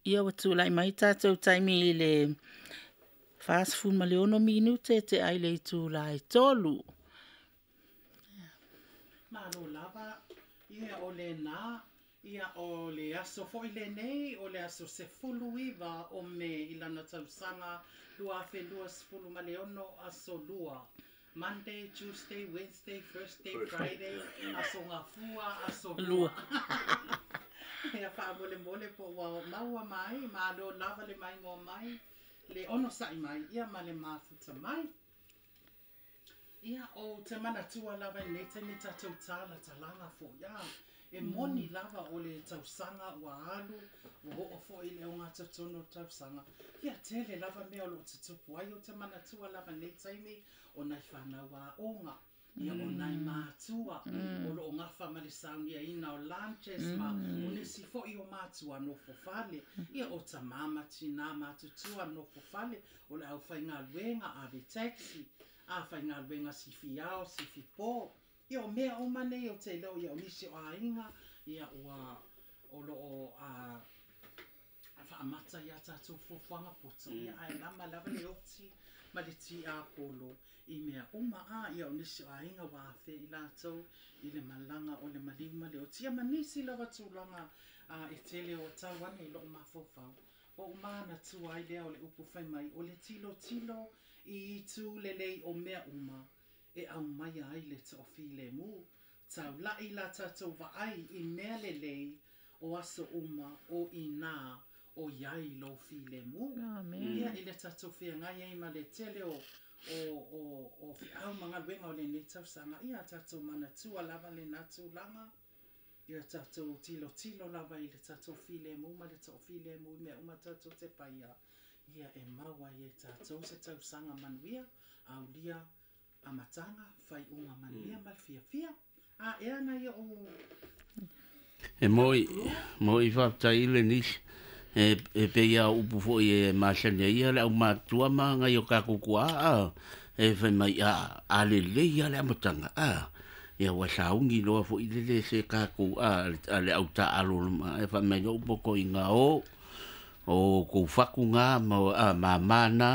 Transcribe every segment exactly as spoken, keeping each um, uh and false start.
Ia ua tulai mai tatou taimi i le fa sefulu ma le ono minute te ai le itula e tolu. Malo lava, ia o lena, ia o le aso foi lenei, o le aso sefulu iva o Me i lana tausaga lua afe lua sefulu ma le ono, aso lua. Monday, Tuesday, Wednesday, Thursday, Friday, aso gafua, aso lua. Ia faamolemole po ua maua mai, malo lava le maimoa mai, le onosa'i mai, ia ma le mafuta mai. Ia ou te manatua lava i lenei taimi tatou talatalaga foi a. E moni lava o le tausaga ua alu, ua oo foi i le ogatotonu o le tausaga. Ia tele lava mea o loo tutupu ai. Ou te manatua lava i lenei taimi o nai fanau aoga. Ia o nai matua o loo gafa ma le sauniaina o lunches ma o nisi foi o matua nofo fale. Ia o tamā ma tinā matutua nofo fale, o le aufaigaluega ave taxi, afaigaluega sifi ao, sifi po. Ia o mea uma nei ou te iloa ia o nisi o aiga ia ua o loo a faamata ia tatou fuafuaga poto ia ae lama lava le oti ma le tiapolo i mea uma a. Ia o nisi o aiga ua afea i latou i le malaga o le maliu ma le oti ia ma nisi lava tulaga a e tele o tau ane i loo mafaufau. Ua ou manatua ai lea o le upu fai mai o le tilotilo i itu lelei o mea uma e aumaia ai le toafilemu. Taulai la tatou vaai i mea lelei o aso uma o ina o iai lou filemu. Ia i le tatou feagai ai ma le tele o o o o feau ma galuega o lenei tausaga, ia tatou manatua lava lena tulaga. Ia tatou tilotilo lava i le tatou filemu ma le toafilemu i mea uma tatou te faia, ia e maua ai e tatou se tausaga manuia, aulia amataga faaiuga manuia ma le fiafia. A ea na ia o E moi, moi faafetai le nisi. E, e pei a upu foi e masani ai ia le aumatua ma agai o tatou tuaa a, e fai mai a, a lelei a le amataga a, ia ua sauni loa foi lele se tatou a, a le au taalo ma e fai mai loa upu o toiga o, o kou fatu na ma a, mamā na,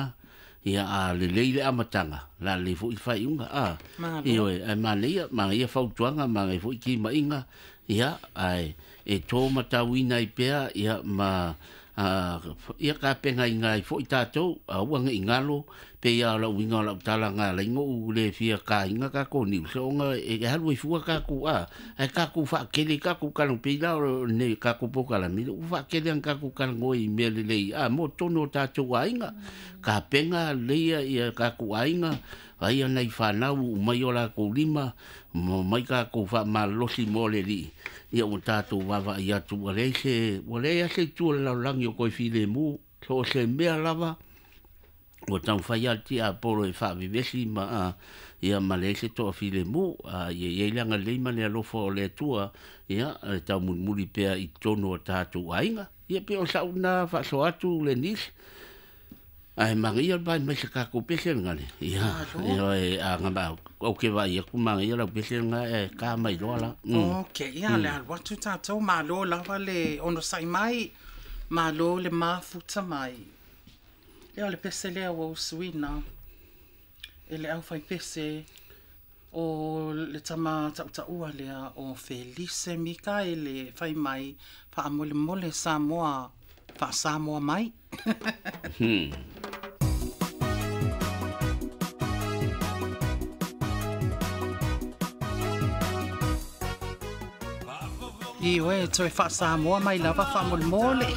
ia a lelei le amataga, la lelei foi le faaiuga a. Malo. Ioe, ae manaia, manaia fautuaga, manaia foi timaiga, ia, ae e tō matauina ai pea, ia ma a, ia tapenaina ai foi tatou, aua nei galo, pei a o lau uiga o lau tala na ala ai ona ou le fia taina tatou niu, soona e alu ai fua tatou a, ae tatou faatele tatou talanoa, pei la o lenei tatou polokalame, ua faatele ana tatou talanoa i mea lelei a, mo totonu o tatou aiga. Tapena lelei ia tatou aiga, ai nai fanau uu mai o latou lima, ma omai tatou faamalolosi mo le alii, ia ua tatou vaavaai atu, ua leai se, ua leai lava se itu o le lalolagi o toe filemu, so o se mea lava, ua taumafai lava le tiapolo e faavevesi ma a, ia ma leai se toafilemu. A, ia i ai le agalelei ma le alofa o le Atua, ia, e taumulimuli pea i totonu o tatou aiga. Ia pei o sau lena faasoa atu le nisi. Ae manaia le vae mai se tatou pese lena le. Ia, Malo. ia e a na ou ke vaai atu manaia lau pese lena e ka mai loa la. Mm. Ok, ia le alu atu tatou, malo lava le onosa'i mai, malo le mafuta mai. Ia o le pese lea ua usuina e le aufaipese o le tama tautaua lea o Felise Mikaele fai mai faamolemole Samoa faasamoa mai. Hmm. Ioe, toe faasamoa mai lava faamolemole.